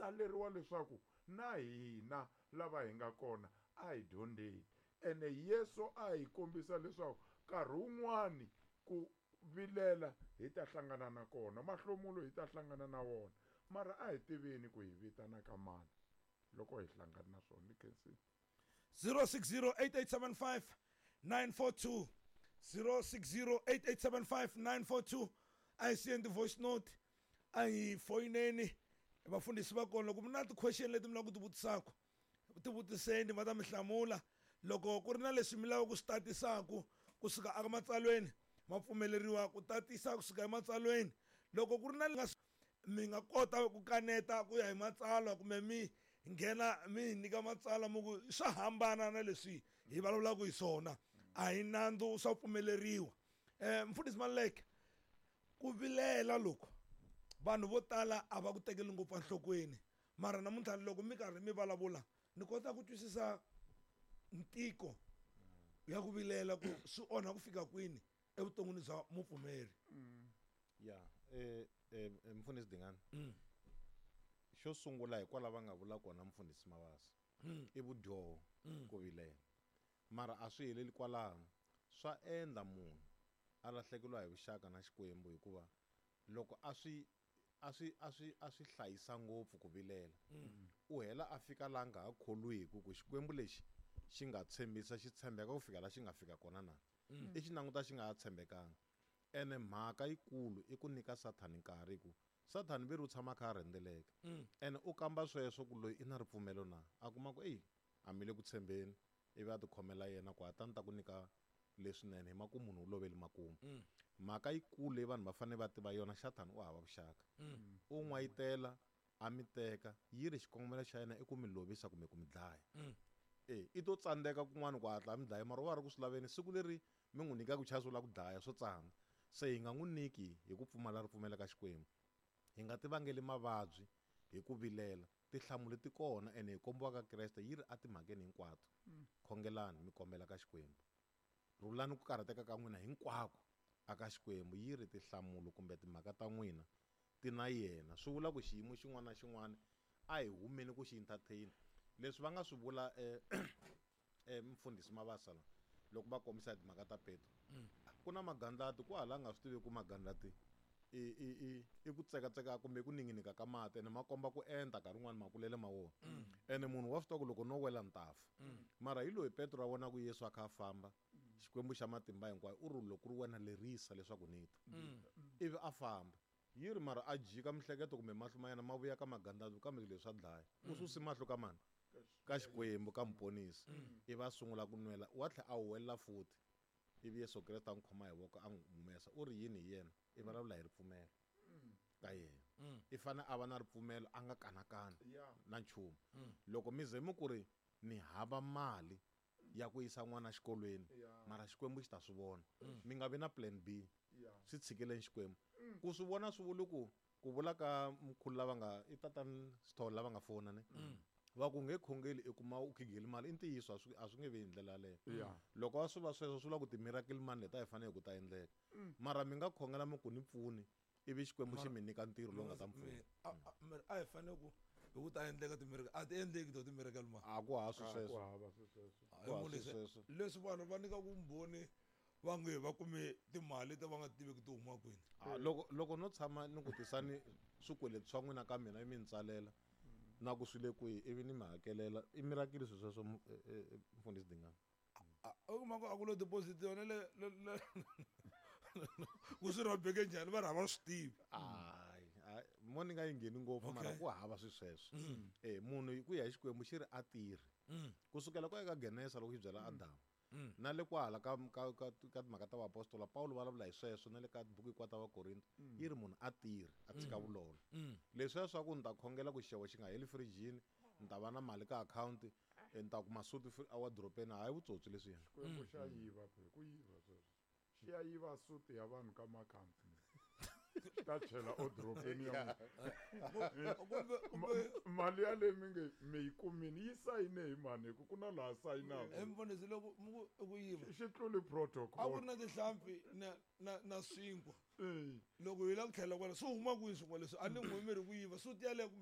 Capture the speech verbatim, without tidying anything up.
tsaleriwa leswaku na hina lava hi nga kona a hi dyondzeni. Ene Yesu a hi kombisa leswaku nkarhi wun'wani ku vilela hi ta hlangana na kona, mahlomulo hi ta hlangana na wona, mara a hi tiveni ku hi vitana ka mani loko hi hlangana na swona. Ni khensile. zero six zero eight eight seven five nine four two zero six zero eight eight seven five nine four two. A hi siyeni ti-voice note, a hi foyineni vafundhisi va kona. Loko mi na ti-question leti mi lava ku ti vutisaka, ti vutiseni, va ta mi hlamula. Loko ku ri na leswi mi lavaka ku swi tatisaka kusuka eka matsalweni, ma pfumeleriwa ku tatisa kusuka ematsalweni. Loko ku ri na nga mi nga kota ku kaneta ku ya hi matsalwa, kumbe mi nghena mi hi nyika matsalwa mi ku swa hambana na leswi hi vulavulaka hi swona, a hi nandzu, swa pfumeleriwa. um Mfundhisi Maluleke, ku vilela loko vanhu vo tala a va ku tekeli ngopfu enhlokweni, mara namuntlha loko mi karhi mi vulavula ni kota ku twisisa ntiko ya ku vilela ku swi onha ku fika kwini evuton'wini bya mupfumeri. Ya, eh eh mfundhisi Dingani, xo sungula hikwalaho va nga vula kona mfundhisi Mabasa, i vudyoho ku vilela, mara a swi heleli kwalano. Swa endla munhu a lahlekeriwa hi vuxaka na Xikwembu, hikuva loko a swi a swi a swi a swi hlayisa ngopfu ku vilela, u hela a fika laha nga ha kholwiki ku Xikwembu lexi xi nga tshembisa xi tshembeka ku fika laha xi nga fika kona na i xi languta xi nga ha tshembekanga. Ene mhaka yikulu i ku nyika Sathani nkarhi, ku Sathani veri u tshama a kha a rhendzeleka, ene u kamba sweswo ku loyi i na ripfumelo na, a kuma ku eyi a mi le ku tshembeni, ivi a tikhomela yena ku a ta ni ta ku nyika leswinene, hi makumu munhu u loveli makumu. Mhaka yikulu leyi vanhu va fanele va tiva yona, Sathani u hava vuxaka, u n'wayitela a mi teka, yi ri xikongomelo xa yena i ku mi lovisa kumbe ku mi dlaya. E i to tsandzeka kun'wana ku hatla a mi dlaya, mara u va ri ku swi laveni siku leri mi n'wi nyikaka chance u lava ku dlaya, swo tsana. Se hi nga n'wi nyiki hi ku pfumala ripfumelo ka Xikwembu, hi nga ti vangeli mavabyi hi ku vilela. Tinhlamulo ti kona, ene hi kombiwa ka Kreste yi ri etimhakeni hinkwato, khongelani mi kombela ka Xikwembu, rhulani ku karhateka ka n'wina hinkwako aka Xikwembu, yi ri tinhlamulo kumbe timhaka ta n'wina ti na yena. Swi vula ku xiyimo xin'wana na xin'wana a hi humeni ku xi entertain. Leswi va nga swi vula eh, eh, mfundhisi Mabasa la loko va kombisa timhaka ta Petro, ku na magandlati ku hala nga swi tivi ku magandlati i i i i ku tsekatseka kumbe ku ninginika ka mati, ene ma komba ku enta nkarhi wun'wani makulele ma wona, ene munhu wa swi tiva ku loko no wela ni ta fa. Mara hi loyi Petro a vonaka Yesu a kha a famba, Xikwembu xa matimba hinkwayo, u ri loko ku ri wena lerisa leswaku ni ta, ivi a famba. Yi ri mara a jika mihleketo kumbe mahlo ma yena ma vuya ka magandlati, kambe leswi swa dlaya, u susi mahlo ka mani, ka Xikwembu, ka muponisi, ivi a sungula ku nwela, wa tlhela a huwelela futhi, ivi Yesu Kreste a n'wi khoma hi voko a n'wi humesa. U ri yini hi yena? I vulavula hi ripfumelo ka yena, i fanele a va na ripfumelo, a nga kanakani na nchumu. Loko mi ze mi ku ri ni hava mali ya ku yisa n'wana exikolweni, mara Xikwembu xi ta swi vona, mi nga vi na plan B, swi tshikeleni Xikwembu ku swi vona. Swi vuli ku ku vula ka mkhulu lava nga i tatani Sithole lava nga fona ne, va ku nge khongeli i kuma u khigeli mali, i ntiyiso, a swi a swi nge vi hi ndlela yaleyo. Loko a swi va sweswo, swi vula ku ti-miracle money leti a hi fanele ku ta endleka, mara mi nga khongela mi ku ni pfuni, ivi Xikwembu xi mi nyika ntirho lowu nga ta mi pfuna. A hi fanele ku hi ku ta endleka ti-miracle, a ti endleki to ti-miracle money. A ku ha swi sweswo, ku hava sweswo. Ku hava sweswo. Leswi vanhu va nyika vumbhoni va nge va kume timali leti va nga tiveki ti huma kwini. Loko loko no tshama ni ku tisani swikweleti swa n'wina ka mina, mi ni tsalela na ku swi le kwihi, ivi ni mi hakelela, i miracle swilo sweswo, mfundhisi Dingani? U kuma ku a ku lo deposit yona le le le ku swi rhobeke njhani, va ri a va swi tivi. Hayi, mo ni nga yi ngheni ngopfu, mara ku hava swi sweswo. Eh munhu ku ya hi Xikwembu xi ri a tirhi kusukela ku eka Genesa loko xi byela Adamu, na le kwahala ka ka ka ka timhaka ta vaapostola Paulo vulavula hi sweswo, na le ka buku hinkwato ta Vakorinto, yi ri munhu a tirhi a tshika vulolo. Leswiya swa ku ni ta khongela ku xixevo xi nga heli firijini, ni ta va na mali ka akhawunti, ni ta kuma suti ewadropeni, hayi vutsotsi leswiya. Xikwembu xa yiva phe, ku yiva sweswo, xi ya yiva suti ya vanhu ka makhampani, xi ta chela odropeni ya munhu. Mali yaleyi mi nge mi yi kumini yi sayine hi mani, hi ku ku na laha sayinaka. Mfundhisi, loko mi ku i ku yiva, xi tluli protocol. A ku ri na tinhlampfi na na na swinkwa, loko hi lava ku tlhela kwala swi huma kwihi swinkwa leswi? A ni n'wi mi ri ku yiva suti yaleyo.